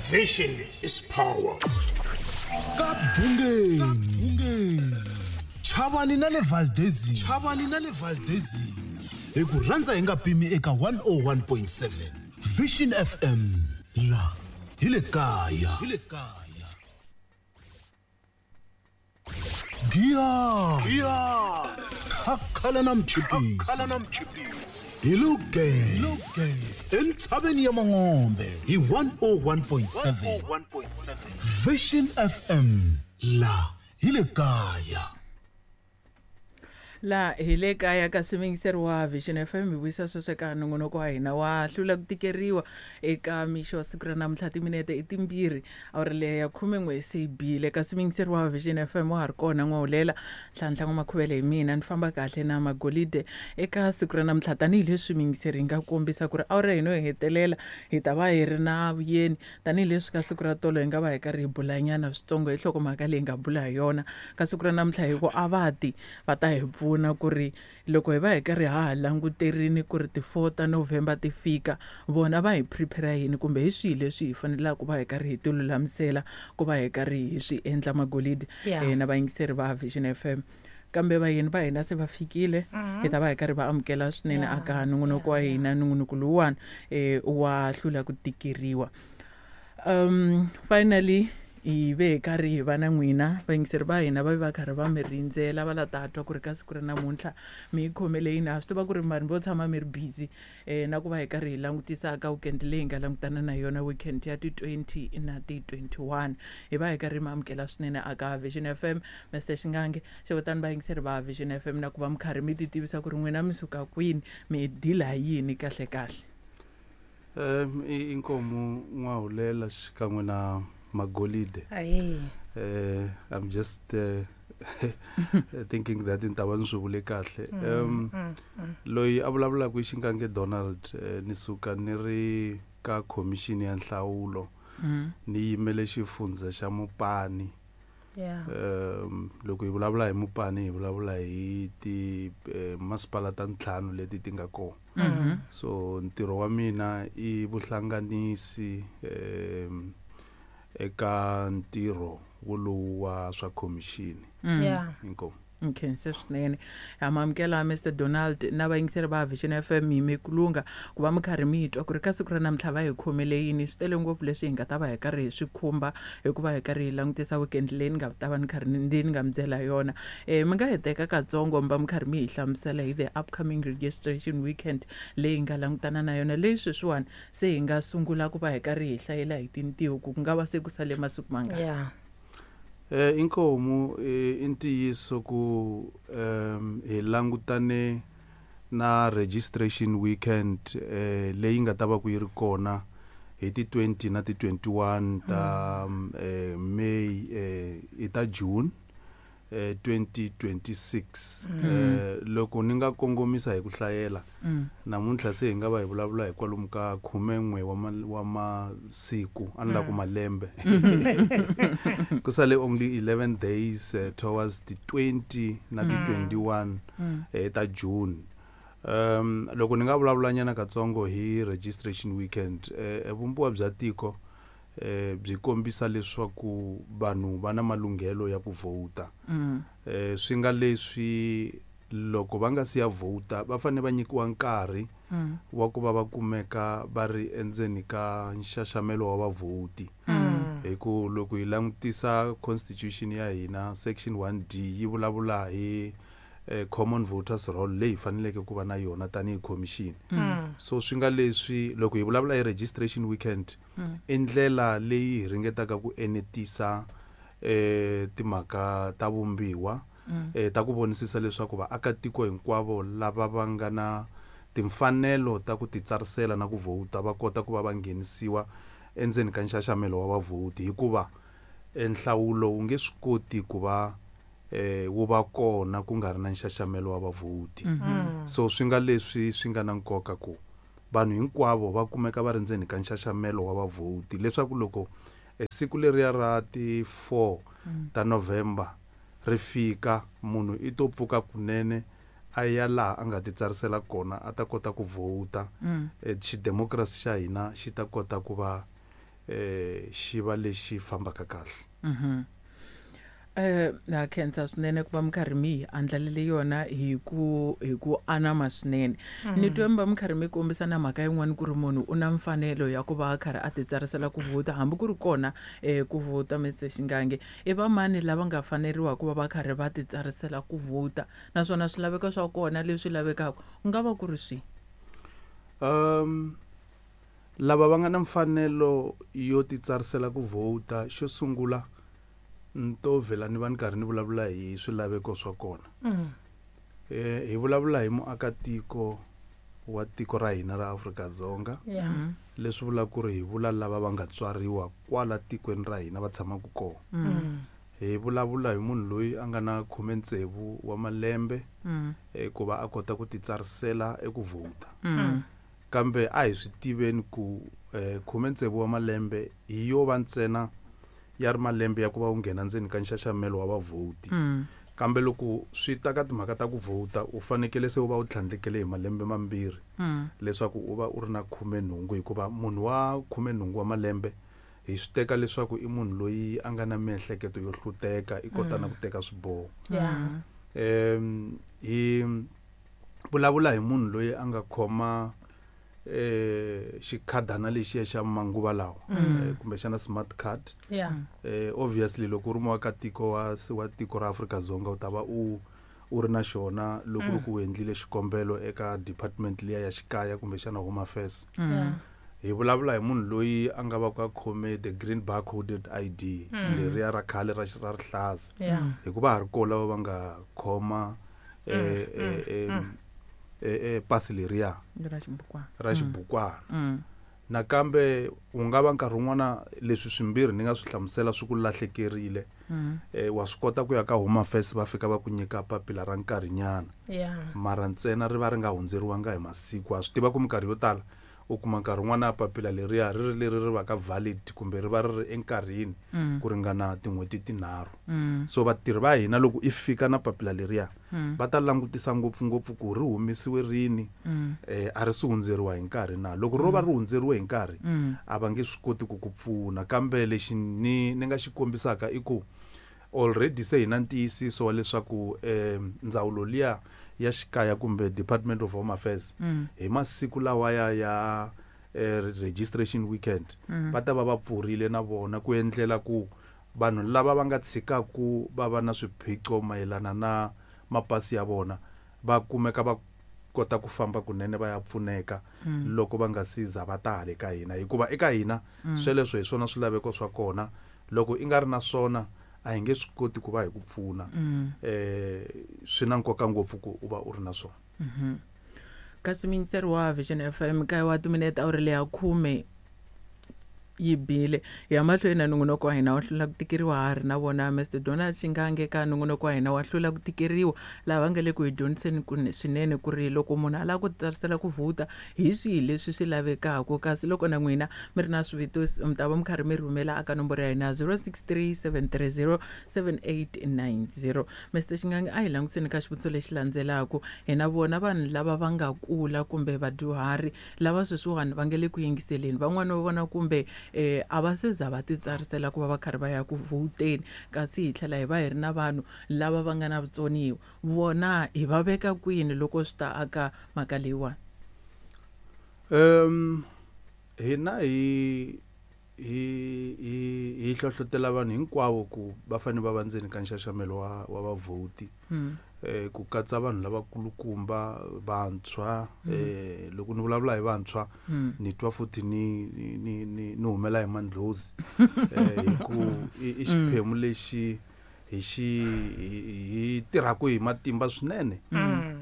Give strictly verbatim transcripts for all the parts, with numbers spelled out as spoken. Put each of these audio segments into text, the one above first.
Vision is power. Ka Bungeni, Chavani na le Valdezini, Chavani na le Valdezini, hi ku rhandza hi nga pimi eka one oh one point seven Vision F M, la hi le kaya, hi le kaya. Giya khakhala na mchipisi, hi luge entshaveni ya Mangombe hi one oh one point seven Vision F M, la hi le kaya. La hi le kaya ka swiyingiseri wa Vision F M, hi vuyisa sweswo eka nongonoko wa hina wa Hlula ku Tikeriwa. Eka mixo wa siku ra namuntlha, timinete i timbirhi awuri leya ya khumen'we se yi bile. Kasi muyingiseri wa Vision F M, wa ha ri kona N'wahulela Nhlanhla N'wamakhuvele, hi mina ni famba kahle na Magolide eka siku ra namuntlha. Tanihileswi muyingiseri hi nga kombisa ku ri awuri hina yo hetelela hi ta va hi ri na vuyeni, tanihileswi ka siku ra tolo hi nga va hi karhi hi bulanyana switsongo hi nhlokomhaka leyi hi nga bula hi yona ka siku ra namuntlha, hi ku a va ti va ta hi pfuna ku ri loko hi va hi karhi ha ha languterini ku ri ti-four ta November ti fika, vona va hi prepare yini kumbe hi swihi leswi hi fanelaka ku va hi karhi hi ti lulamisela ku va hi karhi hi swi endla, Magolide. Yeah. eh, na vayingiseri va Vision F M, kambe vayeni va hina se va fikile, hi ta va hi karhi va amukela swinene Yeah. aka nongonoko wa hina, nongonoko lowuwani eh, wa Hlula ku Tikeriwa. um finally hi ve hi karhi hi va na n'wina vayingiseri va hina, va va karhi va mi rindzela, va la ta twa ku ri ka siku ra namuntlha mi yi khomele yini. Ha swi tiva ku ri vanhu vo tshama mi ri busy um na ku va hi karhi hi langutisa ka weekend leyi hi nga langutana na yona, weekend ya ti twenty na ti twenty-one. Hi va hi karhi mi amukela swinene aka Vision F M, Mister Xingange xevutani vayingiseri va Vision F M na ku va mi karhi mi ti tivisa ku ri n'wina mi suka kwini, mi dila hi yini kahle kahle. Um inkomu N'wahulela xikan'we na Magolide. Ayi. eh I'm just uh, thinking that ni ta va ni swi vule kahle. um loyi a vulavulaka i Xingange Donald. eh, ni suka ni ri ka Khomixini ya Nhlawulo, mm. ni yimele xifundza xa Mupani. Yeah. um loko hi vulavula hi Mupani, hi vulavula hi ti eh, masipala ta ntlhanu leti ti nga kona. Mm-hmm. So ntirho wa mina i vuhlanganisi um eka ntirho wolowu wa swa khomixini. Mm. Yeah. Inkomu. Nkhense swinene, ha ma amukela Mister Donald na vayingiseri va Vision F M. Hi mikulunga ku va mi karhi mi twa ku ri ka siku ra namuntlha va hi khomele yini. Swi tele ngopfu leswi hi nga ta va hi karhi hi swi khumba, hikuva hi karhi hi langutisa weekend leyi ni nga ta va ni karhi ni ni nga mi byela yona. um mi nga hi teka katsongo mi va mi karhi mi hi hlamusela hi the upcoming registration weekend leyi hi nga langutana na yona, leyi sweswiwani se hi nga sungula ku va hi karhi hi hlayela hi tintiho ku ku nga va se ku sale masiku mangani. Yeah. Eh inkomu eh, i ntiyiso ku um hi langutane na registration weekend eh leyi nga ta va ku yi ri kona hi ti twenty na ti twenty-one ta mm. eh, May, eh i ta June eh twenty twenty-six. Mm. eh loko ni nga kongomisa hi ku hlayela, Mm. namuntlha se hi nga va hi vulavula hi kwalomu ka khumen'we wa ma, wa masiku, a ni la ku malembe, ku sale only eleven days uh, towards the twenty na ti twenty-one Mm. eh, ta June. um loko ni nga vulavula nyana katsongo hi registration weekend, eh, vumbiwa bya tiko eh byi kombisa leswaku vanhu va na malunghelo ya ku vhota. Mm. eh swi nga leswi loko va nga si ya vhota, va fanele va nyikiwa nkarhi Mm. wa ku va va kumeka va ri endzeni ka nxaxamelo wa vavhoti, Mm. hi ku loko hi langutisa constitution ya hina, section one D yi vulavula hi eh, common voters roll leyi hi faneleke ku va na yona tanihi commission. Mm. So swi nga leswi loko hi vulavula hi registration weekend, Mm. i ndlela leyi hi ringetaka ku enetisa eh timhaka ta vumbiwa Mm. eh ta ku vonisisa leswaku vaakatiko hinkwavo lava va nga na timfanelo ta ku titsarisela na ku vhota va kota ku va va nghenisiwa endzeni ka nxaxamelo wa vavhoti, hikuva eh, nhlawulo wu nge swi koti ku va eh wu va kona ku nga ri na nxaxamelo wa vavhoti. Mm-hmm. So swi nga leswi swi nga na nkoka ku vanhu hinkwavo va kumeka va ri ndzeni ka nxaxamelo wa vavhoti, leswaku loko eh, siku leriya ra ti four ta November ri fika, munhu i to pfuka kunene a ya laha a nga ti tsarisela kona, a ta kota ku vhota. Mm. eh, xidemokirasi xa hina xi ta kota ku va eh xi va lexi fambaka kahle. Mhm. Eh na khensa swinene ku va mi karhi mi hi andlalele yona hi ku hi ku anama swinene. Ni twe mi va mi karhi mi kombisa na mhaka yin'wana ku ri munhu u na mfanelo ya ku va a karhi a ti tsarisela ku vhota hambi ku ri kona eh ku vhota Mister Shingange. I va mani lava nga faneriwa ku va va karhi va ti tsarisela ku vhota naswona swilaveko swa kona leswi lavekaka ku nga va ku ri swihi? Um lava va nga na mfanelo yo ti tsarisela ku vhota, xo sungula nto vhela ni va ni karhi ni vulavula hi swilaveko swa kona. Mm. Eh hi vulavula hi muakatiko wa tiko ra hina ra Afrika-Dzonga. Yeah. Mm. Leswi vulaka ku ri hi vula lava va nga tswariwa kwala tikweni ra hina va tshamaka kona. Mm. Hi vulavula hi munhu loyi a nga na khume ntsevu wa malembe Mm. eh, ku va a kota ku ti tsarisela eku vhota. Mm. Kambe a hi swi tiveni ku eh, khume ntsevu wa malembe hi yo va ntsena ya ri malembe ya ku va u nghena ndzeni ka nxaxamelo wa vavhoti. Mm. Kambe loko swi ta ka timhaka ta ku vhota u fanekele se u va u tlhandlekele hi malembe mambirhi Mm. leswaku u va u ri na khume nhungu, hikuva munhu wa khume nhungu wa malembe hi swi teka leswaku i munhu loyi a nga na miehleketo yo hluteka, i kota na ku teka swiboho. Yeah. Em hi vulavula hi munhu loyi a nga khoma eh xikhadana lexiya xa manguva lawa, eh, kumbexana smart card. Yeah. Eh obviously loko u ri muakatiko wa wa tiko ra Afrika-Dzonga u ta va u u ri na xona loko ri ku u endlile xikombelo eka department liya ya xikaya kumbexana Home Affairs. Yeah. Hi vulavula hi munhu loyi a nga va ku a khome the green barcoded I D leriya ra khale ra ra rihlaza. Yeah. Hikuva ha ri kona lava va nga khoma eh, eh, eh, eh, eh, pasi leriya Ra xibukwana. ra xibukwana. Mm. Nakambe u nga va nkarhi wun'wana leswi swimbirhi ni nga swi hlamusela swi ku lahlekerile. Mm. Eh, wa swi kota ku ya ka Home Affairs va fika va ku nyika papila ra nkarhinyana. Yeah. Mara ntsena ri va ri nga hundzeriwanga hi masiku. Ha swi tiva ku minkarhi yo tala u kuma nkarhi wun'wana papila leriya ri ri leri ri va ka valid kumbe ri va ri ri enkarhini ku ringana tin'hweti tinharhu. Mm. So vatirhi va hina loko i fika na papila leriya va ta langutisa ngopfungopfu ku ri humesiwe rini, eh, a ri si hundzeriwa hi nkarhi na. Loko ro va ri hundzeriwe hi nkarhi a va nge swi koti ku ku pfuna. Kambe lexi ni ni nga xi kombisaka i ku already se hi na ntiyisiso wa leswaku eh, ndzawulo liya ya xikaya kumbe Department of Home Affairs hi masiku lawaya ya eh, registration weekend va ta va va pfurile na vona ku endlela ku vanhu lava va nga tshikaku va va na swiphiqo mayelana na mapasi ya vona va kumeka va kota ku famba kunene va ya pfuneka loko va nga si za va ta hale ka hina, hikuva eka hina sweleswo hi swona swilaveko swa kona. Loko i nga ri na swona a hi nge swi koti ku va hi ku pfuna. Eh swi na nkoka ngopfu ku u va u ri na swona. Kasi muyingiseri wa Vision F M kaye wa timinete awuri leya khume yi bile. Hi ya mahlweni na nongonoko wa hina wa hlula ku tikeriwa, ha ri na vona Mister Donald Shingange ka nongonoko wa hina wa hlula ku tikeriwa, laha va nga le ku hi dyondziseni ku swinene ku ri loko munhu a lava ku tsarisela ku vhota hi swihi leswi swi lavekaka. Kasi loko na n'wina mi ri na swivutiso mi ta va mi karhi mi rhumela aka nomboro ya hina zero six three seven three zero seven eight nine zero. Mister Shingange, a hi langutiseni ka xivutiso lexi landzelaka. Hi na vona vanhu lava va nga kula kumbe vadyuhari lava sweswiwani va nga le ku yingiseleni, van'wani va vona kumbe eh a va se za va ti tsarisela ku va va karhi va ya ku vhoteni, kasi hi tlhela hi va hi ri na vanhu lava va nga na vutsoniwa, vona hi va veka kwini loko swi ta aka mhaka leyiwani? Um hina hi hi hi hi hlohlotela vanhu hinkwavo ku va fanele va va ndzeni ka nxaxamelo wa wa vavhoti. Eh ku katsa vanhu lavakulukumba, vantshwa. Eh loko ni vulavula hi vantshwa ni twa futhi ni ni ni ni humela hi mandlhozi. Eh hi ku i xiphemu lexi hi xi hi tirhaka hi matimba swinene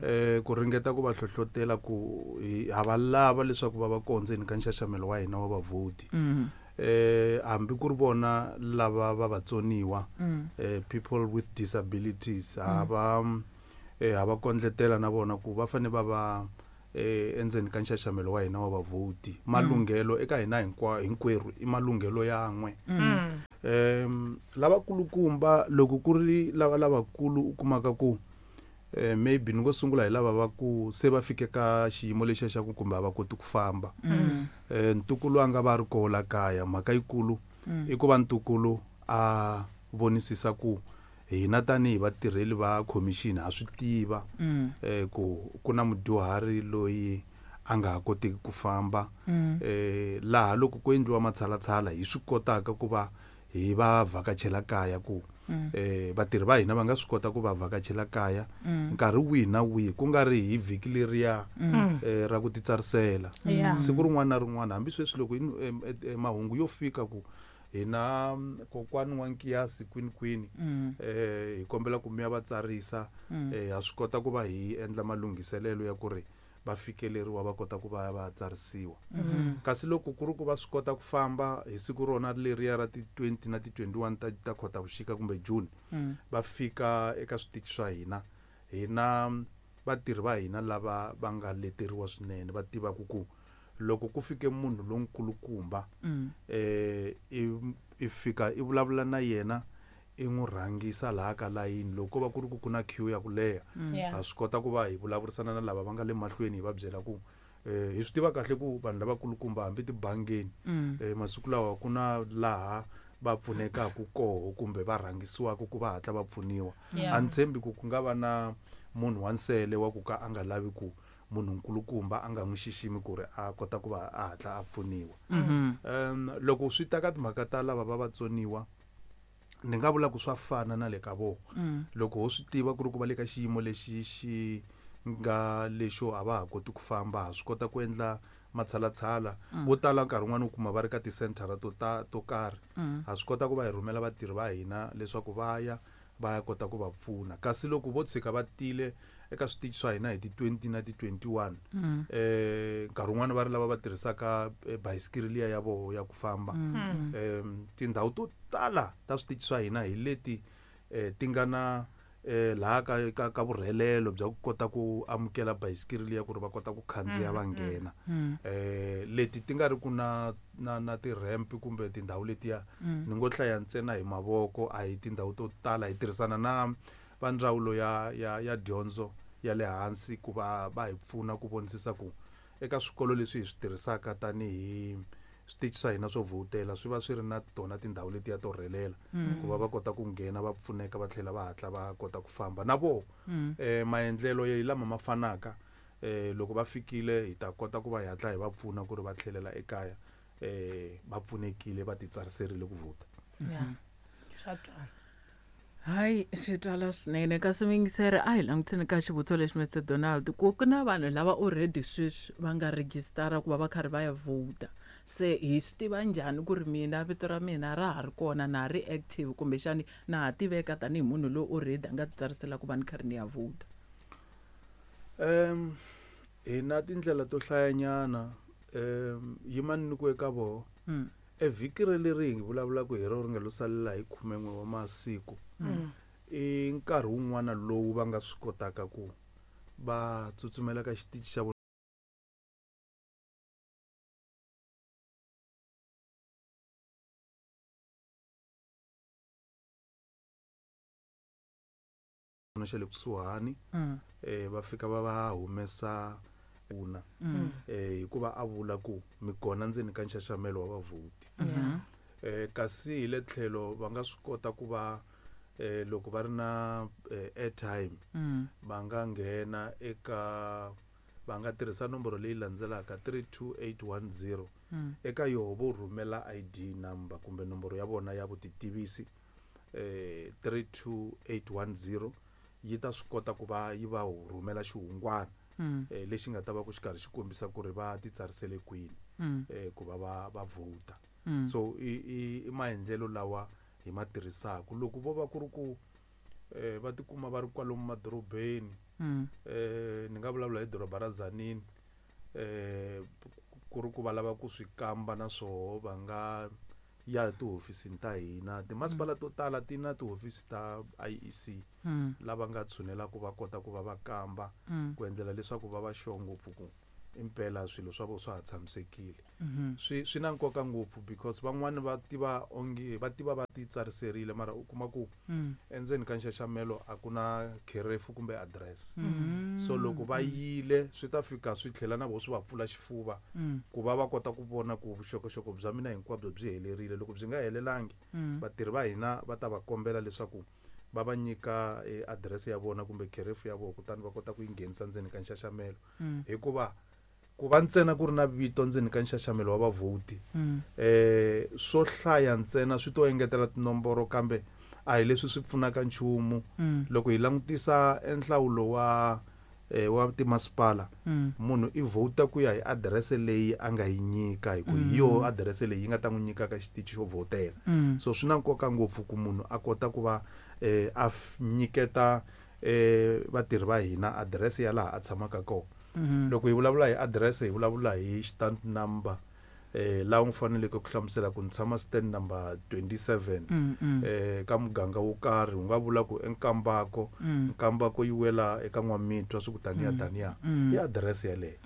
eh ku ringeta ku va hlohlotela ku ha va lava leswaku va va kona ndzeni ka nxaxamelo wa hina wa vavhoti. Eh hambi ku ri vona lava va vatsoniwa, eh people with disabilities, ha va eh ha va kondletela na vona ku va fanele va va eh endzeni ka nxaxamelo wa hina wa vavhoti. Malunghelo eka hina hinkwa hinkwerhu i malunghelo yan'we. Em lavakulukumba loko ku ri lava lavakulu u kumaka ku Eh maybe ni ngo sungula hi lava va ku se va fike ka xiyimo lexiya xa ku kumbe a va koti ku famba. Mm. Eh ntukulu a nga va ri koho la kaya, mhaka yikulu Mm. i ku va ntukulu a vonisisa ku hina tanihi vatirheli va commission ha swi tiva Mm. eh ku ku na mudyuhari loyi a nga ha kotiki ku famba. Mm. Eh laha loko ku endliwa matshalatshala hi swi kotaka ku va hi va vhakachela kaya ku Mm. eh vatirhi va hina va nga swi kota ku va vhakachela kaya Mm. nkarhi wihi na wihi, ku nga ri hi vhiki leriya Mm. eh ra ku titsarisela. Yeah. Siku rin'wana na rin'wana, hambi sweswi loko in-, em, em, em, mahungu yo fika ku hina kokwani wa Nkiyasi kwini kwini, Mm. eh hi kombela ku mi ya va tsarisa, Mm. eh ha swi kota ku va hi endla malunghiselelo ya ku ri va fikeleriwa va kota ku va va tsarisiwa. Mm. Kasi loko ku ri ku va swi kota ku famba hi siku rona leriya ra ti twenty na ti twenty-one ta, ta Khotavuxika kumbe June, Mm. va fika eka switichi swa hina, hina vatirhi va hina lava va nga leteriwa swinene va tivaka ku loko ku fike munhu lonkulukumba, Mm. eh i, i fika i vulavula na yena, i n'wi rhangisa laha ka layini. Loko ko va ku ri ku ku na queue ya ku leha, Mm. Yeah. ha swi kota ku va hi vulavurisana na lava va nga le mahlweni, hi va byela ku eh hi swi tiva kahle ku vanhu lavakulukumba hambi tibangeni, Mm. eh masiku lawa ku na laha va pfunekaka koho kumbe va rhangisiwaka ku va hatla va pfuniwa. Yeah. A ni tshembi ku ku nga va na munhu wa nsele wa ku ka a nga lavi ku munhu nkulukumba a nga n'wi xiximi ku ri a kota ku va a hatla a pfuniwa. Mm-hmm. Um loko swi ta ka timhaka ta lava va vatsoniwa, ni nga vula ku swa fana na le ka vona. Mm. Loko ho swi tiva ku ri ku va le ka xiyimo lexi xi nga lexo a va ha koti ku famba, ha swi kota ku endla matshalatshala. Mm. Vo tala nkarhi wun'wani u kuma va ri ka tisenthara to ta to karhi, Mm. ha swi kota ku va hi rhumela vatirhi va hina leswaku va ya va ya kota ku va pfuna. Kasi loko vo tshika va tile eka switichi swa hina hi ti twenty na ti twenty-one, Mm. eh nkarhi wun'wani va ri lava va tirhisaka, eh, bayisikiri liya ya voho ya ku famba. Mm. Em, tindhawu to tala ta switichi swa hina hi leti, eh, ti nga na, eh, laha ka, ka, ka vurhelelo bya ku kota ku amukela bayisikiri liya ku ri va kota ku khandziya va nghena. Mm. Eh, leti ti nga ri ku na, na, na ti-ramp kumbe tindhawu letiya, Mm. ni ngo hlaya ntsena hi mavoko, a hi tindhawu to tala. Hi tirhisana na va ndzawulo ya, ya, ya dyondzo ya le hansi ku va va hi pfuna ku vonisisa ku eka swikolo leswi hi swi tirhisaka tanihi switichi swa hina swo vhotela swi va swi ri na tona tindhawu letiya to rhelela, Mm. ku va va kota ku nghena va pfuneka va tlhela va hatla va kota ku famba na voho. Mm. Eh, maendlelo ya lama ma fanaka, eh, loko va fikile hi ta kota ku va hi hatla hi va pfuna ku ri va tlhelela ekaya, eh, va pfunekile va titsariserile ku vhota. Yeah. Swa twala. Hayi, swi twala swinene. Kasi muyingiseri, a hi langutiseni ka xivutiso lexi Mister Donald, ku ku na vanhu lava already sweswi va nga registara ku va va karhi va ya vhota. Se hi swi tiva njhani ku ri mina vito ra mina ra ha ri kona, na ha ri active, kumbexani na ha tiveka tanihi munhu loyi already a nga titsarisela ku va ni karhi ni ya vhota? Em, hi na tindlela to hlayanyana. Em, yimani ni ku eka voho. Mm. E vhiki leri hi vulavulaka hi rona ri nga lo salela hi khumen'we wa masiku, Mm. i nkarhi wun'wana lowu va nga swi kotaka ku va tsutsumela ka xitichi xa vona xa le kusuhani, Mm. eh, va fika va va humesa pfuna. Mm. Eh, hikuva a vula ku mi kona ndzeni ka nxaxamelo wa vavhoti. Mm-hmm. Eh, kasi hi le tlhelo va nga swi kota ku va, eh, loko va ri na, eh, airtime, Mm. va nga nghena eka, va nga tirhisa nomboro leyi landzelaka three two eight one zero. Mm. Eka yoho vo rhumela I D number kumbe nomboro ya vona ya vutitivisi, eh, three two eight one zero, yi ta swi kota ku va yi va rhumela xihungwana, Mm. eh, lexi nga ta va ku xi karhi xi kombisa ku ri va titsarisele kwini, Mm. eh, ku va va, va vhota. Mm. So i, i, i maendlelo lawa hi ma tirhisaka. Loko vo va ku ri ku, eh, va tikuma va ri kwalomu madorobeni, Mm. eh, ni nga vulavula hi doroba ra Tzaneen, eh, ku ri ku va lava ku swi kamba na swoho, va nga ya tihofisini ta hina. Timasipala to tala ti na tihofisi ta I E C, Mm. lava nga tshunela ku va kota ku va va kamba, Mm. ku endlela leswaku va va sure ngopfu ku, impela swilo swa vona swa ha tshamisekile. Swi swi na nkoka ngopfu because van'wani va tiva onge va tiva va ti tsariserile mara u kuma ku endzeni ka nxaxamelo a ku na kherefu kumbe address. So loko va yile swi ta fika swi tlhela na vona swi va pfula xifuva ku va va kota ku vona ku vuxokoxoko bya mina hinkwabyo byi helerile. Loko byi nga helelangi vatirhi va hina va ta va kombela leswaku va va nyika address ya vona kumbe kherefu ya vona kutani va kota ku yi nghenisa ndzeni ka nxaxamelo. Hikuva ku va ntsena ku ri na vito ndzeni ka nxaxamelo wa vavhoti eh swo hlaya ntsena swi to engetela tinomboro kambe a hi leswi swi pfunaka nchumu. Loko hi langutisa enhlawulo wa eh wa timasipala munhu i vhota ku ya hi adirese leyi a nga yi nyika hi ku hi yo adirese leyi yi nga ta n'wi nyika ka xitichi xo vhotela. So swi na nkoka ngopfu ku munhu a kota ku va eh a nyiketa eh vatirhi va hina adirese ya laha a tshamaka kona. Loko hi vulavula hi adirese hi vulavula hi stand number eh laha u faneleke ku hlamusela ku ni tshama stand number twenty-seven eh ka muganga wo karhi u nga vula ku eNkambako Nkambako yi wela eka N'wamitwa swi ku taniya taniya i adirese yaleyo.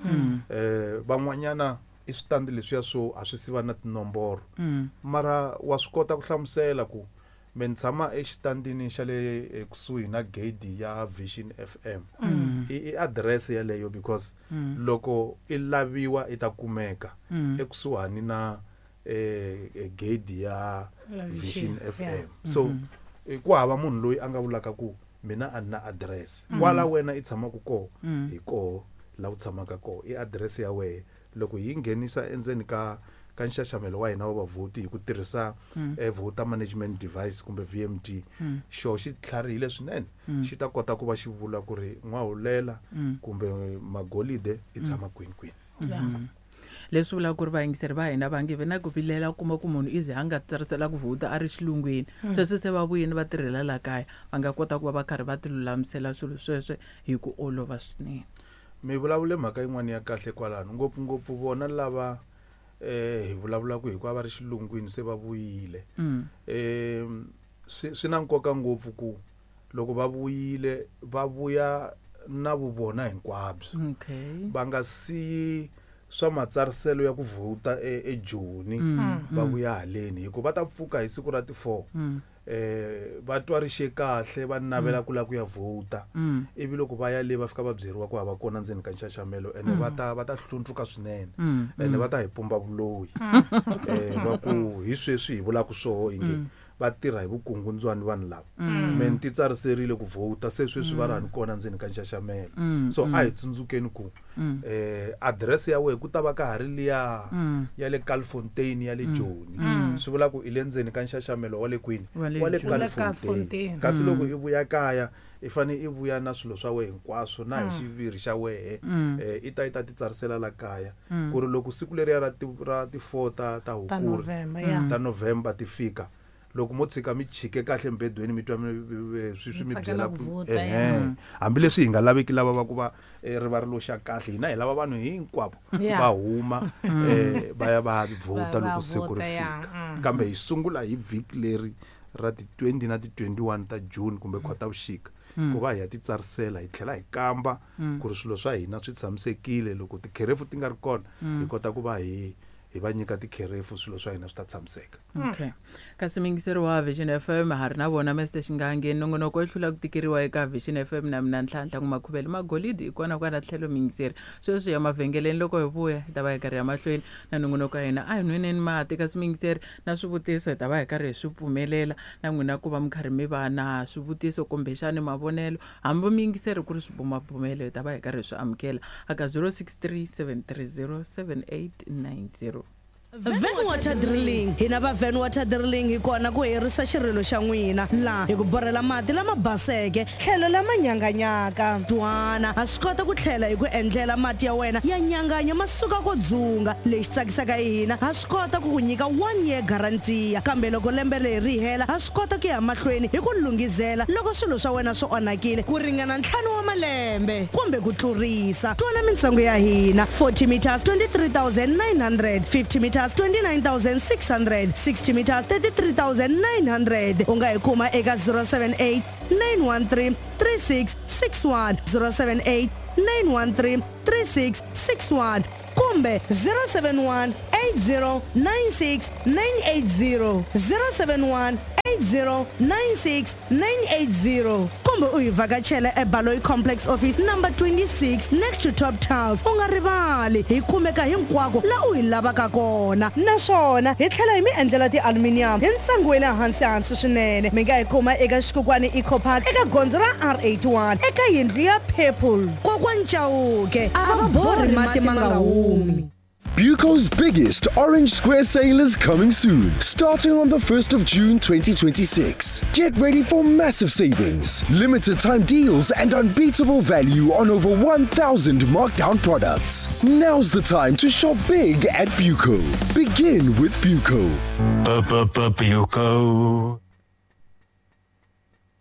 Eh van'wanyana i switandi leswiya swo a swi siva na tinomboro mara wa swi kota ku hlamusela ku me ni tshama exitandini xa le kusuhi na gate ya Vision F M. I address yaleyo because loko i laviwa i ta kumeka ekusuhani na eh gate ya Vision F M. So ku hava munhu loyi a nga vulaka ku mina a ni na address kwala wena i tshamaka koho hi koho la u tshamaka koho i address ya wehe. Loko hi nghenisa endzeni ka ka nxaxamelo wa hina wa vavhoti hi ku tirhisa voter management device kumbe V M D xo xi tlharihile swinene xi ta kota ku va xi vula ku ri N'wahulela kumbe Magolide i tshama kwini kwini. Leswi vulaka ku ri vayingiseri va hina va nge vi na ku vilela kuma ku munhu ize a nga tsarisela ku vhota a ri xilungwini sweswi se va vuyini va tirhela la kaya va nga kota ku va va karhi va ti lulamisela swilo sweswe hi ku olova swinene. Mi vulavule mhaka yin'wana ya kahle kwalano ngopfungopfu vona lava eh hi vulavula ku hikuva va ri xilungwini se va vuyile eh swi swi na nkoka ngopfu ku loko va vuyile va vuya na vuvona hinkwabyo. Okay va nga siyi swa matsariselo ya ku vhota eJoni va vuya haleni hikuva va ta pfuka hi siku ra ti four eh va twa rixe kahle va navela ku la ku ya vhota ivi loko va ya le va fika va byeriwa ku hava kona ndzeni ka nxaxamelo ene va ta va ta hlundzuka swinene ene va ta hi pumba vuloyi eh va ku hi sweswi hi vulaka swoho inge va tirha hi vukungundzwani vanhu lava me ni ti tsariserile ku vhota se sweswi va ri hani kona ndzeni ka nxaxamelo. So a hi tsundzukeni ku eh address ya wehe ku ta va ka ha ri liya ya le Kalfontein ya le Joni swi vula ku i le ndzeni ka nxaxamelo wa le kwini wa le Kalfontein kasi loko i vuya kaya i fane i vuya na swilo swa wehe hinkwaswo na hi xiviri xa wehe eh i ta i ta ti tsarisela la kaya ku ri loko siku leriya ra ti ra ti four ta ta Hukuri ta November ti fika loko mo tshika mi chike kahle mbedweni mi twa swi swi mi byela ku ehe hambileswi hi nga laveki lava va ku va ri va ri loxa kahle hina hi lava vanhu hinkwavo va huma eh va ya va vhota loko siku ri fika kambe hi sungula hi vhiki leri ra ti twenty na ti twenty-one ta June kumbe Khotavuxika ku va hi ya ti tsarisela hi tlhela hi kamba ku ri swilo swa hina swi tshamisekile loko tikherefu ti nga ri kona hi kota ku va hi hi va nyika tikherefu swilo swa hina swi ta tshamiseka. Okay kasi mingiseri wa Vision F M ha ri na vona Mister Xingange nongonoko i hlula ku tikeriwa eka Vision F M na mina Ntlhantlha Makhuvele Magolidi hi kona kwala tlhelo mingiseri sweswi ya mavhengeleni loko hi vuya hi ta va hi karhi ya mahlweni na nongonoko ya hina a hi nweneni mati kasi mingiseri na swivutiso hi ta va hi karhi hi swi pfumelela na n'wina ku va mi karhi mi va na swivutiso kumbexani mavonelo hambi mingiseri ku ri swibumabumelo hi ta va hi karhi hi swi amukela aka zero six three seven three zero seven eight nine zero. Van Water Drilling hina va Van Water Drilling hi kona ku herisa xirilo xa n'wina laha hi ku borhela mati lama baseke tlhelo lama nyanganyaka twana ha swi kota ku tlhela hi ku endlela mati ya wena ya nyanganya ma suka ko dzunga lexi tsakisaka hi hina ha swi kota ku ku nyika one year guarantee kambe loko lembe leri ri hela ha swi kota ku ya mahlweni hi ku lunghizela loko swilo swa wena swi onhakile ku ringana ntlhanu wa malembe kumbe ku tlurisa twana mintsengo ya hina forty meters twenty-three thousand nine hundred fifty meters twenty-nine thousand six hundred sixty meters thirty-three thousand nine hundred u nga hi kuma eka zero seven eight nine one three three six six one zero seven eight nine one three three six six one kumbe zero seven one eight zero nine six nine eight zero zero seven one eight zero nine six nine eight zero kumbe u hi vhakachela eBaloyi Complex Office number twenty-six next to Top Tiles. U nga rivali hi kumeka hinkwako la u hi lavaka kona, naswona hi tlhela hi mi endlela ti-aluminium hi ntsengo wa le hansi hansi swinene. Mi nga hi kuma eka Xikukwani Eco Park eka gondzo ra R eighty-one eka yindlu ya Purple. Kokwani Chauke a va borhi mati ma nga humi. Buco's biggest Orange Square sale is coming soon, starting on the first of June twenty twenty-six. Get ready for massive savings, limited time deals and unbeatable value on over one thousand markdown products. Now's the time to shop big at Buco. Begin with Buco. Buco.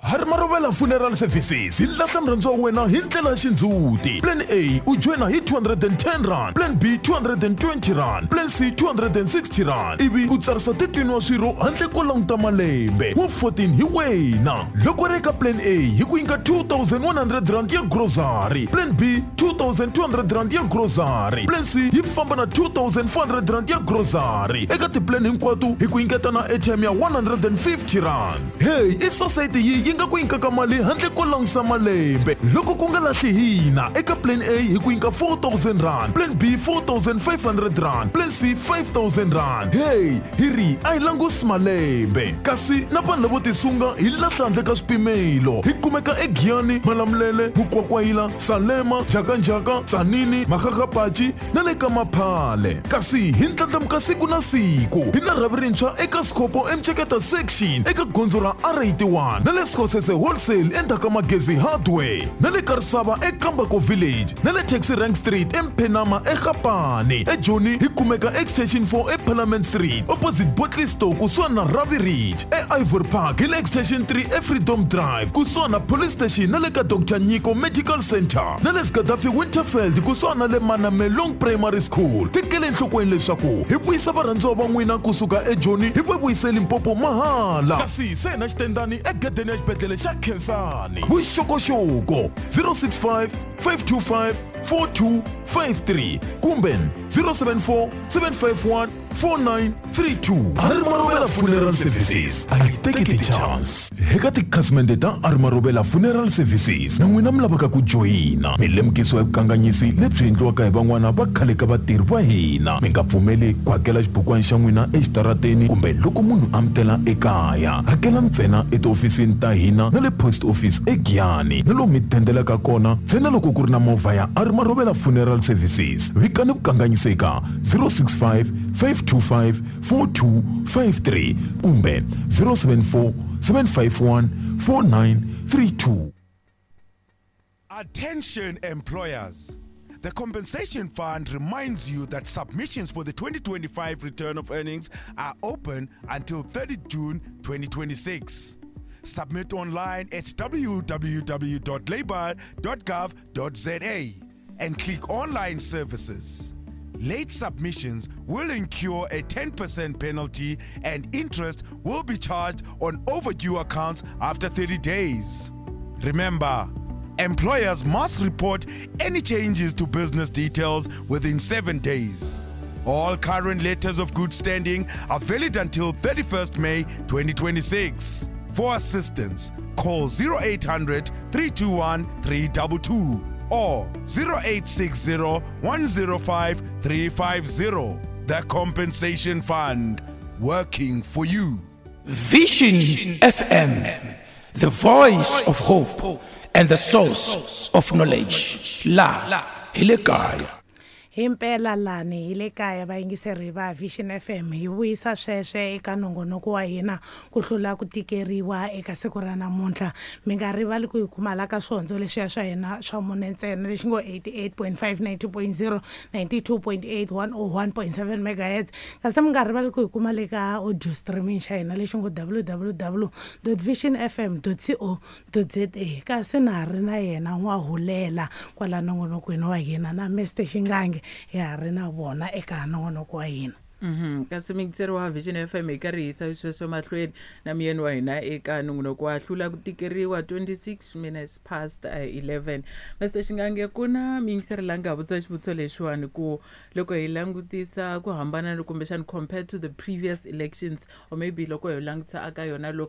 Harimarovela Funeral Services hi lahla murhandziwa wa wena hi ndlela ya xindzhuti. Plan A u joyina hi two hundred and ten rand, Plan B two hundred and twenty rand, Plan C two hundred and sixty rand, ivi u tsarisa thirteen wa swirho handle ko languta malembe wa fourteen hi wena. Loko ri eka Plan A hi ku nyika two thousand one hundred rand ya grocery, Plan B two thousand two hundred rand ya grocery, Plan C yi famba na two thousand four hundred rand ya grocery. Eka tiplan hinkwato hi ku nyiketa na airtime ya one hundred and fifty rand. Hey, i society yi yi nga ku nyikaka mali handle ko langusa malembe. Loko ku nga lahli hina eka Plan A hi ku nyika four thousand rand, Plan B four thousand five hundred rand, Plan C five thousand rand. Hey, hi ri a hi langusi malembe. Kasi na vanhu lavo tisunga hi lahla handle ka swipimelo. Hi kumeka eGiyani, Malamulele, Mukwakwayila, Salema, Jakanjaka, Tsanini, Makgakgapachi na le ka Maphale. Kasi hi ndlandlamuka siku na siku. Hi na rhavi rintshwa eka Scopo eMcheketa section eka gondzo ra R eighty-one na le Skhosese Wholesale endzhaku ka Magezi Hardware na le Karisava eKambako Village na le Taxi Rank Street eMphenama eGapane. eJoni hi kumeka Extension four eParliament Street opposite Botley Store kusuhani na Ravi Ridge. E-Ivory Park hi le Extension three eFreedom Drive kusuhani na Police Station na le ka Doctor Nyiko Medical Center na le Gaddafi Winterfeld kusuhani na le Manamelong Primary School. Tekele enhlokweni leswaku hi vuyisa varhandziwa va n'wina kusuka eJoni hi va vuyise Limpopo mahala. Kasi se na xitendani egedeni ya xibedhlele xa Khensani. Vuxokoxoko zero six five five two five four two five three kumbe zero seven four seven five one four nine three two. Harimarovela Funeral Services a yi teki ti-chance. Eka tikhasimende ta Harimarovela Funeral Services na n'wina mi lavaka ku joyina, mi lemukisiwa hi vukanganyisi lebyi endliwaka hi van'wana va khale ka vatirhi va hina. Mi nga pfumeli ku hakela xibukwana xa n'wina exitarateni kumbe loko munhu a mi tela ekaya. Hakela ntsena etihofisini ta hina na le post office eGiyani na lomu mi dendelaka kona ntsena loko ku ri na movha ya Harimarovela Funeral Services. Vikani vukanganyisi eka zero six five five two five four two five three kumbe zero seven four seven five one four nine three two. Attention employers. The Compensation Fund reminds you that submissions for the twenty twenty-five return of earnings are open until thirtieth June twenty twenty-six. Submit online at w w w dot labour dot gov dot z a and click Online Services. Late submissions will incur a ten percent penalty and interest will be charged on overdue accounts after thirty days. Remember, employers must report any changes to business details within seven days. All current letters of good standing are valid until thirty-first May twenty twenty-six. For assistance, call zero eight hundred, three two one, three two two or zero eight six zero, one zero five, three five zero. The Compensation Fund, working for you. Vision F M, the voice of hope and the source of knowledge. La hi le kaya. Himpela lani hi le kaya vayingiseri va Vision F M hi vuyisa sweswe eka nongonoko wa hina ku hlula ku tikeriwa eka siku ra namuntlha. Mi nga rivali ku hi kuma la ka swihondzo leswiya swa hina swa mune ntsena lexi ngo eighty-eight point five, ninety point zero, ninety-two point eight, one oh one point seven megahertz. Kasi mi nga rivali ku hi kuma le ka audio streaming xa hina lexi ngo w w w dot vision f m dot co dot z a. Kasi na ha ri na yena N'wahulela kwala nongonokweni wa hina na Mister Xingange ya ri na vona eka nongonoko wa hina. Mhm. Kasi muyingiseri wa Vision F M, hi karhi hi yisa sweswo mahlweni na muyeni wa hina eka nongonoko wa Hlula ku Tikeriwa, twenty-six minutes past uh, eleven. Mister Xingange, ku na muyingiseri la nga vutisa xivutiso lexiwani ku loko hi langutisa ku hambana kumbexani compared to the previous elections, or maybe loko hi langutisa aka yona local